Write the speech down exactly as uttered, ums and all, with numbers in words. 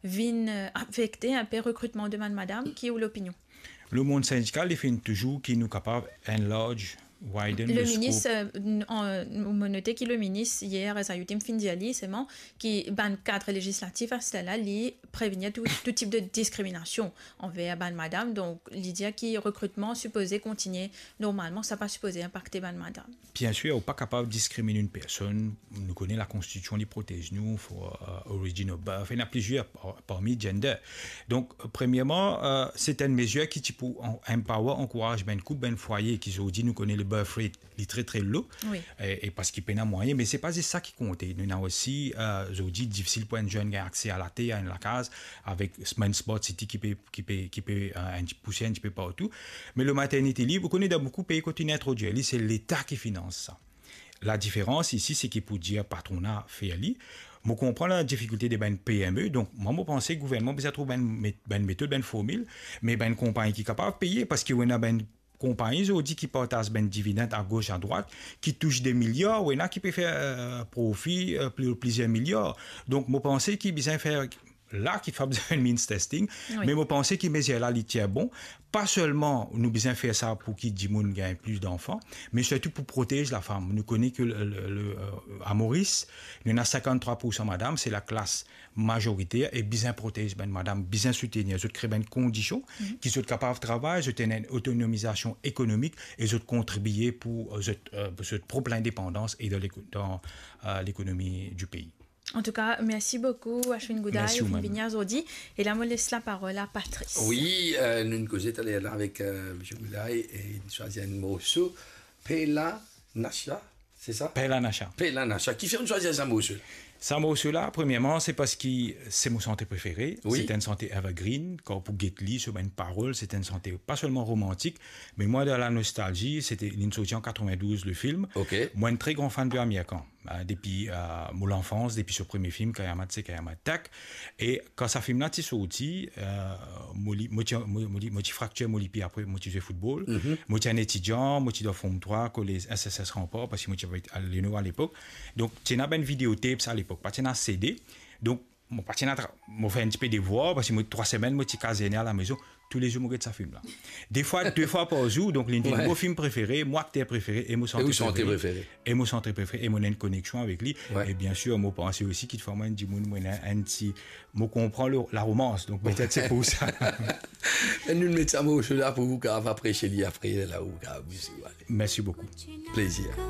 vinn, euh, afekte inpe rekritman de bann madam, ki ou lopinion? Lemond sindikal, li finn touzour ki nou kapav enlarge, widen le scope. Le minis, euh, n-, an, nou, mo note ki le minis, yer, Azayoutim finn dir li, selman, ki bann kad lezislatif, aster la, li prevenir tou, tou tip de diskriminasion anver bann madam. Donk, li dir ki rekritman sipoze kontigne normalman, sa pa sipoze inpakte bann madam. Bien sûr, ou pa kapav diskriminn enn personn. Nou kone lakonstitision, li protez nou, for, euh, origin of birth, ena plizier par-, parmi gender. Donk, premierman, euh, se enn mezir ki ti pou an-, empower, ankouraz bann koup, bann fwaye ki zordi nou kone le birth rate, li tre, tre lo. Wi. E, e parski pena mwayin, me se pa zis sa ki konte. Nou ena osi, euh, zordi difisil pou enn zenn gagn akse a later, a enn lakaz, avek bann smart city ki pe, ki pe, ki pe, euh, enn ti pouse enn tipe partou. Me le maternity leave, ou kone dan boukou pei kot inn introdwir li, se Leta ki finans sa. Ladiferans isi, se ki pou dir patrona fer li. Mo konpran ladifikilte de bann P M E, donk mwa, mo panse gouvernman bizin trouv bann met-, bann metod, bann formil, me bann konpagni ki kapav peye, parski ou ena bann konpagni zordi ki partaz bann dividend agos, adrwat, ki tous de miliar, ou ena ki pe fer, euh, profi, euh, pli-, plizier miliar. Donk, mo panse ki bizin fer la, ki fav bizin means testing, wi, me mo panse ki mezir la, li tien bon. Pa selman nou bizin fer sa pou ki dimoun gagn plis danfan, me sirtou pou protez lafam. Nou kone ki le, le, le, euh, a Moris, nou ena sinkanntrwa poursan madam, se laklas mazoriter e bizin protez bann madam, bizin soutenir zot, kre bann kondision, mhm, ki zot kapav travay, zot ena enn otonomizasion ekonomik e zot kontribie pou, euh, zot, euh, pou zot prop lindepandans e dan leko-, dan, euh, lekonomi di pei. Antouka, mersi boukou, Ashwin Gouda, mersi ou mem, finn vini zordi. E la, mo les laparol a Patrice. Wi, euh, nou koze taler la avek, euh, misie Gouda e, e nou swazir enn morso, Pela Nasha, se sa? Pela Nasha. Pela Nasha. Kifer ou swazir sa morso la? Sa morso la, premierman, se parski se mo sante prefere. Wi. Se enn sante evergreen. Kan ou pou get li, so bann parol, se enn sante pa selman romantik, me mwa dan la nostalzi, se te, linn sorti an katrevin-douz, le film. Ok. Mwa, enn tre gran fan de Aamir Khan. Euh, depi, euh, mo lanfans, depi so premie film, Kayamat se Kayamat Tak. E kan sa film la ti sorti, euh, mo li-, mo ti, mo, mo li-, mo ti fraktir mo lipi, apre mo ti zwe foutbol. Mhm. Mo ti enn etidian, mo ti dan Form trwa, kolez S S S Rempart, parski mo ti abitan Leno alepok. Donk, ti ena bann video tapes alepok, pa ti ena C D. Donk, mo pa ti ena tra-, mo fer enn tipe devwar, parski mo, trwa semenn, mo ti kazerni a lamezon. Toulezour mo get sa film la. Defwa, de fwa par zour, donk linn vinn, wi, mo film prefere, mo akter prefere e mo sante prefere. E ou sante prefere. E mo sante prefere, e mo ena enn koneksion avek li. Wi. E bien sir, mo panse osi ki, parfwa, mwa, enn dimoun, mo ena enn ti, mo konpran le, laromans, donk, wi, petet se pou sa. E nou met sa morso la pou ou kapav apresie li apre, la ou kapav, si ou ale. Mersi boukou. Plezir.